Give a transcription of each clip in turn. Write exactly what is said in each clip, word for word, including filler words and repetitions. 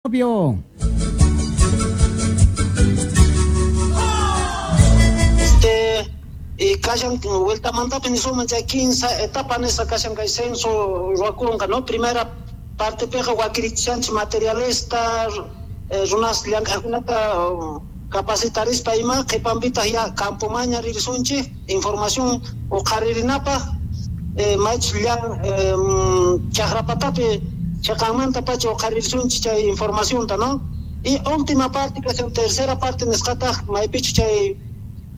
Obvio. Este y kashan vueltamantapi nisunman chay kinsa etapa nisqa kashan kay censo ruwakunqa, ¿no? Primera partepiqa wakirichishanchik materialesta, eh, runas llank'aqkunata capacitarispa ima, qhipanpitaq ya campomaña ririsunchik información uqharirinapaq, eh, maychus llan eh, chaqrapatapi chiqanmanta pacha uqharirisunchik chay informacionta, ¿no? Y última parte kashan tercera parte nisqataq maypichu chay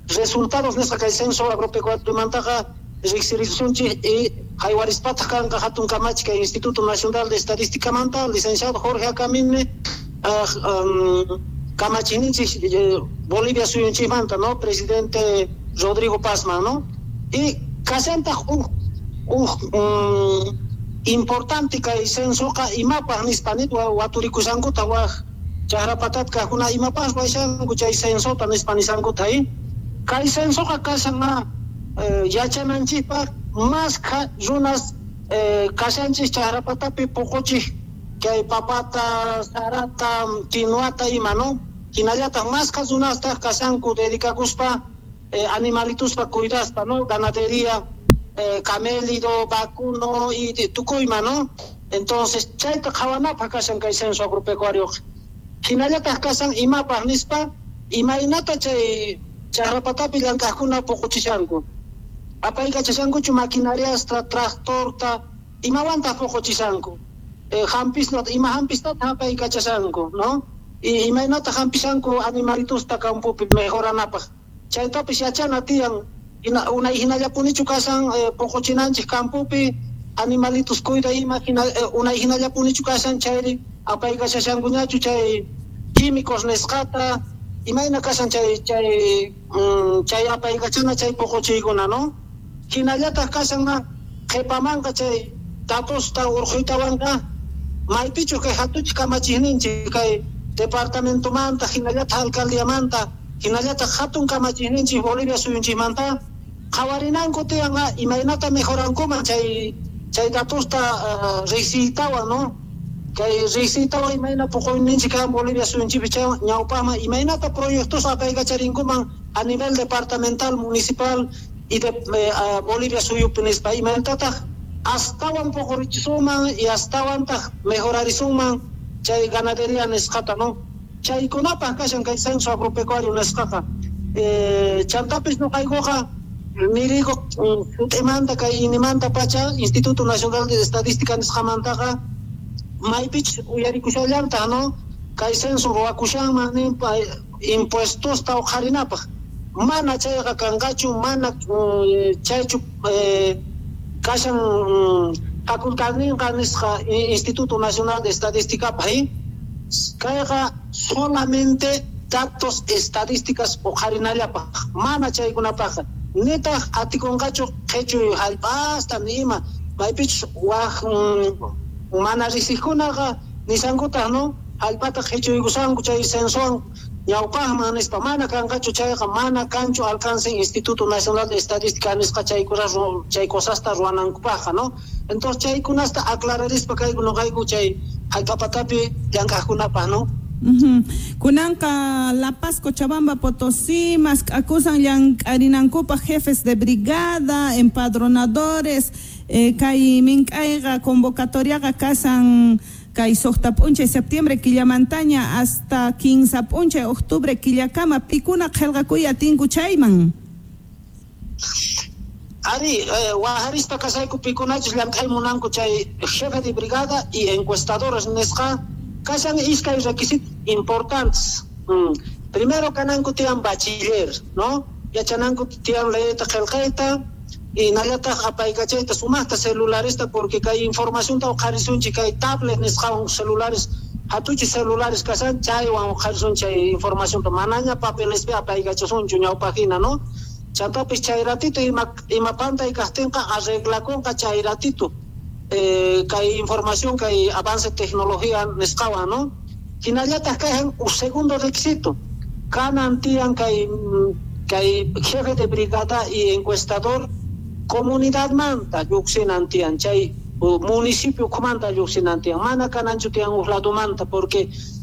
resultados nisqa kay censo agropecuariomantaqa riqsirisunchik y haywarispataq kanqa hatun kamachi kay Instituto Nacional de Estadísticamanta licenciado Jorge Akamine uh, um, kamachiyninchik eh, Bolivia suyunchikmanta, ¿no? Presidente Rodrigo Pazman, ¿no? Y kashantaq huk huk um, importante kay censoqa imapaq nispa nit waturikushankuta wak chaqrapatata kaqkuna imapaq ruwashanku chay censota nispa nishankuta y kay censoqa kashan eh, yachananchikpaq maskha runas eh, kashanchik chaqrapatapi puquchik kay papata, sarata, quinoata ima, ¿no? Hinallataq maskha runastaq kashanku dedicakuspa eh, animalituspa cuidaspa, ¿no? Ganadería, eh, camélido, vacuno y tukuyma, ¿no? Entonces chayta qhawanapaq kashan kay censo agropecuario. Hinallataq kashan imapaq nispa imaynata chay chaqrapatapi llank'aqkuna puquchishanku. Apaykachashankuchu maquinariasta, tractorta, imawantaq puquchishanku. Eh, hampisnata, ima hampistataq apaykachashanku, ¿no? Y imaynata hampishanku animalitusta campopi mejoranapaq. Chaytapis yachana tiyan unay hinallapunichu kashan eh, puquchinanchik campopi animalitos cuida ima hina, eh, unay hinallapunichu kashan chayri apaykachashankuñachu chay químicos nisqata imayna kashan chay chay mm, chay apaykachana chay puquchiykuna, ¿no? Hinallataq kashan qhipamanqa chay datosta urquytawanqa maypichu kay hatuchik kamachiyninchik kay departamentomanta hinallataq alcaldiamanta hinallataq hatun kamachiyninchik Bolivia suyunchikmanta qhawarinanku tiyanqa imaynata mejorankuman chay chay datosta uh, riqsiytawan, ¿no? Kay riqsiytawan imayna puquyninchik kan Bolivia suyunchikpi chay ñawpaqman imaynata proyectos apaykacharinkuman a nivel departamental, municipal y de eh, uh, Bolivia suyupi nispa imaynatataq astawan puqurichisuman y astawantaq mejorarisunman chay ganadería nisqata, ¿no? Chaykunapaq kashan kay censo agropecuario nisqaqa. Eh, chantapis nuqaykuqa nirigo sut'imanta kay inimanta pacha Instituto Nacional de Estadística nisqamantaqa maypich uyarikushallartaq, ¿no? Kay censo ruwakushanman ninpa impuestosta uqharinapaq. Mana chayqa kanqachu, mana chaychu eh, kashan facultadninqa nisqa Instituto Nacional de Estadísticapaq, ¿eh? Kayqa solamente datos estadísticas uqharinallapaq, mana chaykunapaqqa. Nitaq atikunqachu qhichuy hallp'asta ni ima, maypichus wak mana riqsiqkunaqa nishankutaq, ¿no? Hallp'ata qhichuykusanku chay censowan ñawpaqman nispa, mana kanqachu chayqa, mana kanchu alcance Instituto Nacional de Estadística nisqa chaykuna chay cosasta ruwanankupaqqa, ¿no? Entonces chaykunasta aclararispa kayku nuqayku chay hallp'apatapi llank'aqkunapaq, ¿no? Uh-huh. Kunanqa La Paz, Cochabamba, Potosí, mask'akusan llank'arinankupaq jefes de brigada, empadronadores, eh, kay mink'ayqa convocatoriaqa kashan kay suqta p'unchay septiembre killamantaña hasta kinsa p'unchay octubre killakama pikuna qillqakuy atinku chayman. Ari, eh, waharispa kasayku pikunachus llank'ay munanku chay jefe de brigada y encuestadores nisqa kashan iskay requisitos importantes. Mm. Primero kananku tiyan bachiller, ¿no? Yachananku tiyan leeyta qillqayta y nallataq apaykachayta sumaqta celularista porque kay informacionta uqharisunchik kay tablet nisqawan celulares hatuchi celulares kashan chaywan uqharisun chay informacionta manaña papelespi apaykachasunchu ñawpaqhina, ¿no? Chantapis chay ratito ima ima pantay kaqtinqa arreglakunqa chay ratito eh, kay información kay avance tecnología nisqawan, ¿no? Hinallataq kayhan un segundo requisito kanan tiyan kay kay jefe de brigada y encuestador comunidad manta lluqsinan tiyan chay Municipio ukhumanta lluqsinan tiyan, mana kananchu tiyan huk ladumanta, porque